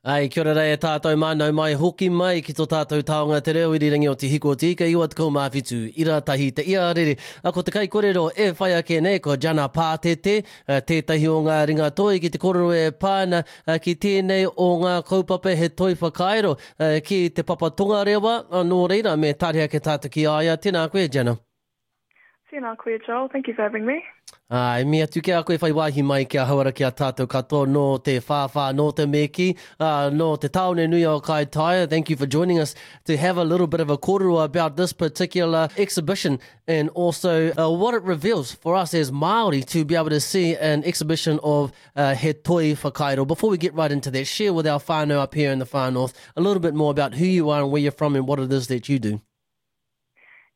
Ai, kia ora rā e tātou mā, nau mai, hoki mai ki tō tātou taonga te reo irirangi o Te Hiko o Te Ika 97, ira tahi te ia rere. A ko te kaikorero e whai ake nei ko Jana Pātete, tētahi o ngā ringa toi ki te korero e pā ana ki tēnei o ngā kaupapa he toi whakairo ki Te Papa Tongarewa, nō reira me tari ake tātou ki a ia. Tēnā koe, Jana. Tēnā koe, Joel. Thank you for having me. Ā, e mihi atu ki a koe whai wāhi mai ki ahau ara ki a tātou katoa nō te whāwhā, nō te me kī, ā, nō te tāone nui o Kaitaia. Thank you for joining us to have a little bit of a kōrero about this particular exhibition and also uh, what it reveals for us as Māori to be able to see an exhibition of uh, He Toi Whakairo. Before we get right into that, share with our whānau up here in the far north a little bit more about who you are and where you're from and what it is that you do.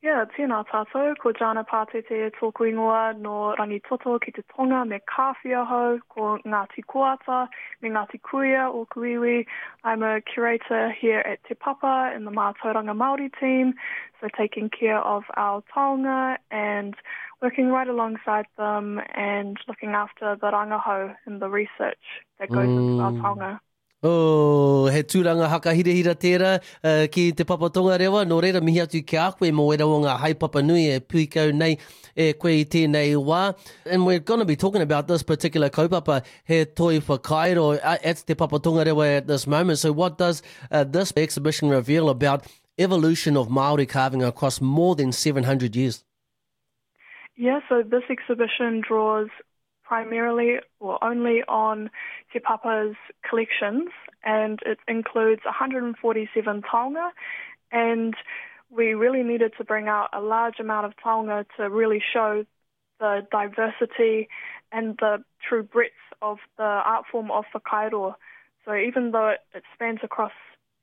Yeah, tēnā tātou, ko Jana Pātete tōku ingoa, nō Rangitoto ki te tonga me Kāwhia hou, ko Ngāti Koata me Ngāti Kuia ōku iwi. I'm a curator here at Te Papa in the Mātauranga Māori team, so taking care of our taonga and working right alongside them and looking after the rangahau and the research that goes mm. into our taonga. Oh, he tūranga hakahirahira tērā uh, ki Te Papa Tongarewa, nō reira mihi atu ki a koe mō wera o ngā haepapa nui e pūkau nei e koe i tēnei wā. And we're going to be talking about this particular kaupapa, he toi whakairo at Te Papa Tongarewa at this moment. So what does uh, this exhibition reveal about evolution of Māori carving across more than 700 years? Yeah, so this exhibition draws primarily or only on Te Papa's collections, and it includes 147 taonga, and we really needed to bring out a large amount of taonga to really show the diversity and the true breadth of the art form of whakairo. So even though it, it spans across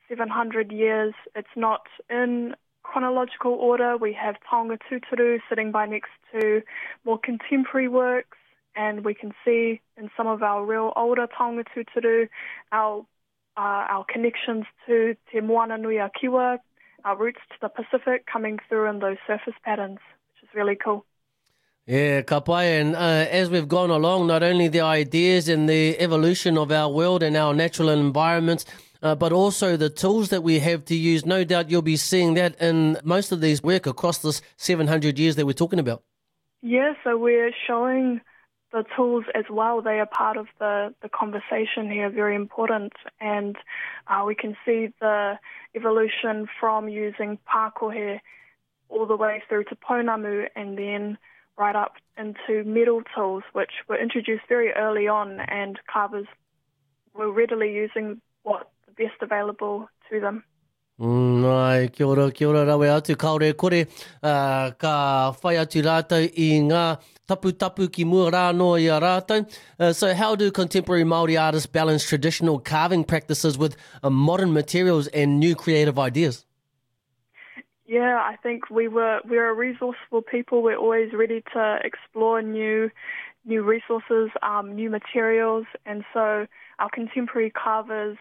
700 years, it's not in chronological order. We have taonga tūturu sitting by next to more contemporary works, and we can see in some of our real older taonga tūturu our, uh, our connections to Te Moana Nui a Kiwa, our roots to the Pacific coming through in those surface patterns, which is really cool. Yeah, ka pai. And uh, as we've gone along, not only the ideas and the evolution of our world and our natural environments, uh, but also the tools that we have to use. No doubt you'll be seeing that in most of these work across this 700 years that we're talking about. Yeah, so we're showing the tools as well. They are part of the, the conversation here, very important. And uh, we can see the evolution from using pākohe all the way through to pounamu and then right up into metal tools, which were introduced very early on, and carvers were readily using what the best available to them. Mm, ai, kia ora, kia ora rawe atu, kāore e kore, uh, ka whai atu rātou i ngā taputapu ki mua rā anō i a rātou. Uh, so how do contemporary Māori artists balance traditional carving practices with uh, modern materials and new creative ideas? Yeah, I think we were we're a resourceful people. We're always ready to explore new new resources, um, new materials, and so our contemporary carvers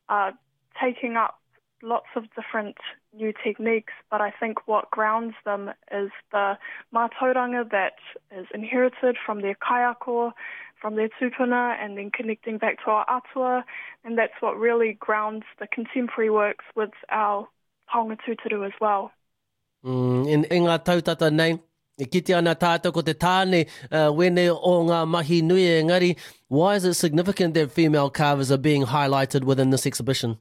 are taking up lots of different new techniques, but I think what grounds them is the mātauranga that is inherited from their kaiako, from their tupuna, and then connecting back to our atua, and that's what really grounds the contemporary works with our taonga tūturu as well. Mm, in, i ngā tautata nei, e kite ana tātou ko te tāne uh, wene o ngā mahi nui engari, why is it significant that female carvers are being highlighted within this exhibition?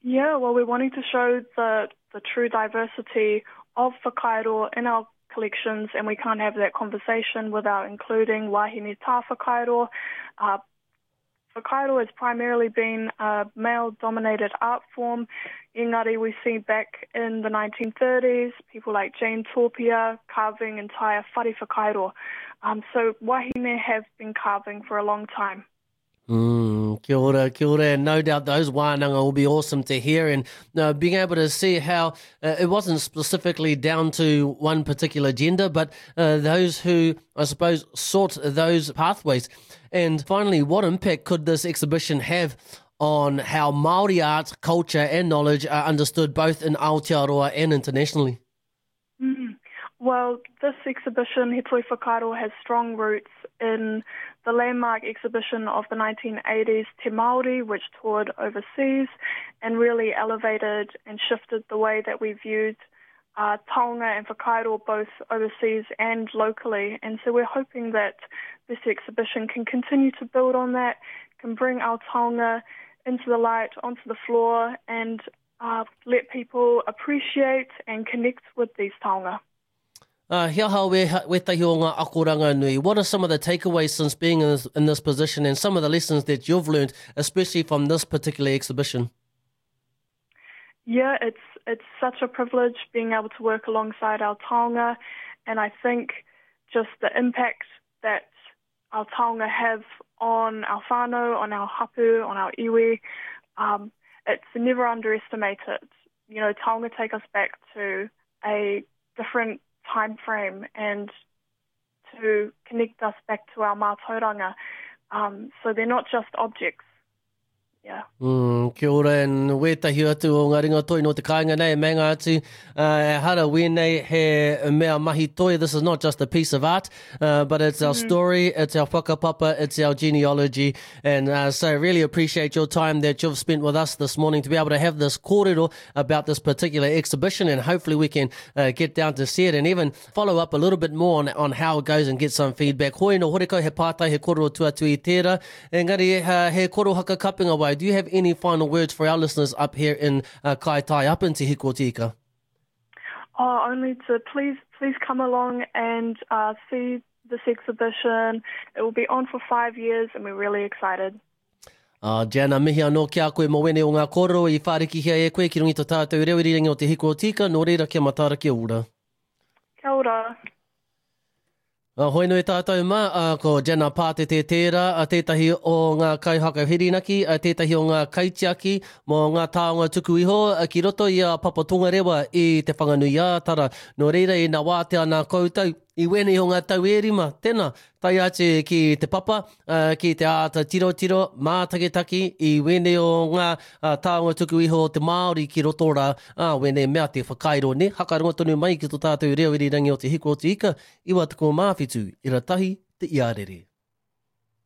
Yeah, well, we're wanting to show the, the true diversity of whakairo in our collections, and we can't have that conversation without including wahine tā whakairo, uh, Whakairo has primarily been a male-dominated art form. Engari we see back in the 1930s, people like Jane Topia carving entire whare whakairo. Um, so wahine have been carving for a long time. Mm, kia ora, kia ora. And no doubt those wānanga will be awesome to hear and uh, being able to see how uh, it wasn't specifically down to one particular gender, but uh, those who, I suppose, sought those pathways. And finally, what impact could this exhibition have on how Māori art, culture and knowledge are understood both in Aotearoa and internationally? Mm. Well, this exhibition, He Toi Whakairo, has strong roots in the landmark exhibition of the 1980s, Te Māori, which toured overseas and really elevated and shifted the way that we viewed uh, taonga and whakairo both overseas and locally. And so we're hoping that this exhibition can continue to build on that, can bring our taonga into the light, onto the floor, and uh, let people appreciate and connect with these taonga. Uh, he aha we, wetahi o ngā akoranga nui. What are some of the takeaways since being in this, in this position and some of the lessons that you've learned, especially from this particular exhibition? Yeah, it's it's such a privilege being able to work alongside our taonga, and I think just the impact that our taonga have on our whānau, on our hapu, on our iwi, um, it's never underestimated. You know, taonga take us back to a different time frame and to connect us back to our mātauranga. Um, so they're not just objects. Yeah. Mm, kia ora and wētahi atu o ngā ringa toi no te kāinga nei, meinga atu, uh, ehara wēnei he mea mahi toi, this is not just a piece of art, uh, but it's our mm. story, it's our whakapapa, it's our genealogy, and uh, so really appreciate your time that you've spent with us this morning to be able to have this kōrero about this particular exhibition, and hopefully we can uh, get down to see it and even follow up a little bit more on, on how it goes and get some feedback. Hoi no horekau he pātai, he kōrero tuatu i tērā, Engari, he koro haka kapinga wai. Do you have any final words for our listeners up here in uh, Kaitai, up in Te Hiku o Te Ika? Oh, only to please, please come along and uh, see this exhibition. It will be on for five years and we're really excited. Uh, Jana, mihi anō ki a koe mō wene o ngā kōrero i whārikihia e koe ki runga i to tātou reo irirangi o Te Hiku o Tika, nō reira kia mataara kia ora. Kia ora. A hoi nui tātou mā, a, ko Jana Pātete tērā, a tētahi o ngā kaihaka whirinaki, a tētahi o ngā kaitiaki mō ngā taonga tuku iho ki roto i a Papa Tongarewa i Te Whanganui-ā-Tara. Nō reira ina wātea nā koutou i wēnei o ngā tau e rima, tena, tae atu ki te papa, ki te āta tirotiro, mātakitaki i wēnei o ngā taonga tuku iho o te Māori ki roto rā, ā, wēnei mea te whakairo, nē, hakarongo tonu mai ki tō tātou reo irirangi o Te Hiku o Te Ika, 97, ira tahi, te iarere.